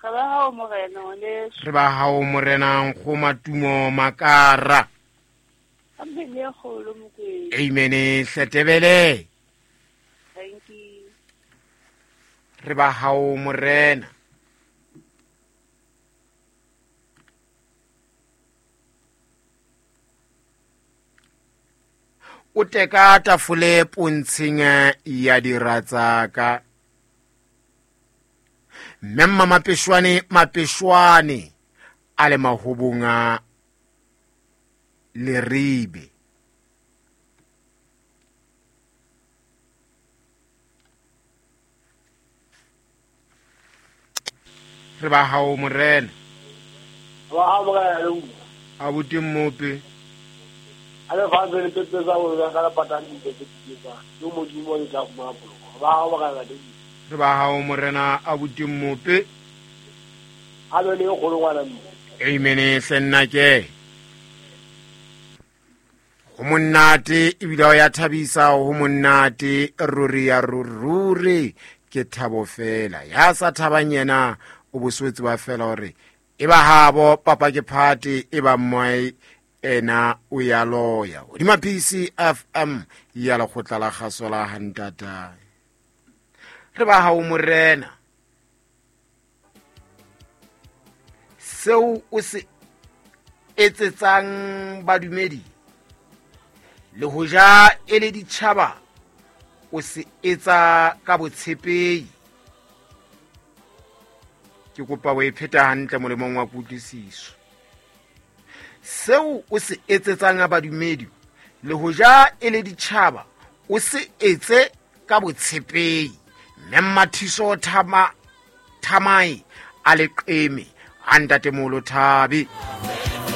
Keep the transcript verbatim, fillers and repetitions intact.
Re ba hao morena ngwaneso. Re ba hao morena Nkgoma Tumo Makara. Amen e kgolo Mokwena. Amen hletebele. Thank you. Re ba hao morena. O teka tafole pontsheng ya dira tsaka. Mme mma Mapeshwane Mapeshwane a le mahobong a Leribe. Re ba hao morena. Ba hao morena. Abuti Mmope. A le fa le pepe tsa go ka la patang di tse di tsa. Yo modimo le tla fumana poloko. Ba hao morena le. Re ba hao morena abuti Mmope. A le le go ngwana mme. Amen senna ke. Ho monate ebile o ya thabisa, ho monate ruri ya ruri ke thabo fela. Ya sa thabang yena o boswetse ba fela hore e ba habo papa ke phate e ba mmai ena o ya loya. Hodima P C F M ya lekgotla la kgaso la hantata. Re ba hao morena. Seo o se etsetsang badumedi le hoja e le ditjhaba o se etsa ka botshepehi. Ke kopa o e pheta hantle molemong wa kutlwisiso. Seo o se etsetsang badumedi le hoja e le ditjhaba o se etse ka botshepehi. Mme Mathiso Thama Thamai a le qeme a ntatemolo Thabi.